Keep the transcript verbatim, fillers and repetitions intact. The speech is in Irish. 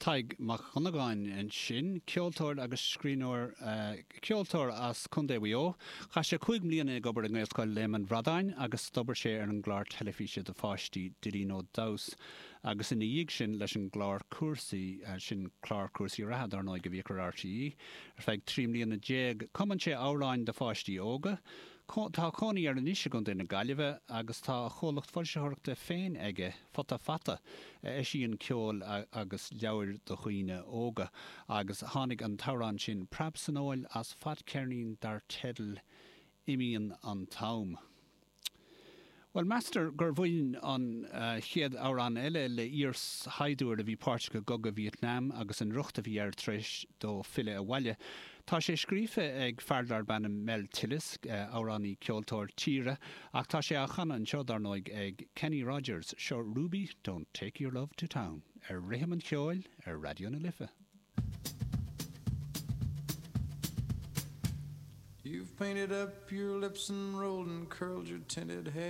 Tadhg Mac Dhonnagáin ansin, ceoltóir agus scríbhneoir ceoltóir as Contae Mhaigh Eo. Chaith sé cúig mbliana ag obair i nGaelscoil Léim an Bhradáin agus d'obair sé ar an gclár teilifíse do pháistí Dillín Ó Deamhas agus ina dhiaidh sin leis an gclár cúrsaí sin clár cúrsaí reatha dar ndóigh a bhíodh ar RTÉ ar feadh trí mbliana déag. Cumann sé amhráin do pháistí óga. Tá cónaí air anois i gContae na Gaillimhe agus tá a chomhlacht foilsitheoireachta féin aige Futa Fata a eisíonn ceol agus leabhair do dhaoine óga agus tháinig an t-amhrán sin Preab san Fheoil as fadcheirnín dar teideal Imíonn an t-am. Well meastar gur bhain an chéad amhrán eile le iarshaighdiúir a bhí páirteach i gcogadh Vietnam agus an riocht a bhí air tar éis dó filleadh abhaile. Tá sé scríofa ag fear darb ainm Mel Tillis, amhránaí ceoltóir tíre, ach tá sé á chanadh anseo dar ndóigh ag Kenny Rogers, seo Ruby, Don't Take Your Love to Town, ar rithim an cheoil ar Raidió na Life. You've painted up your lips and rolled and curled your tinted hair.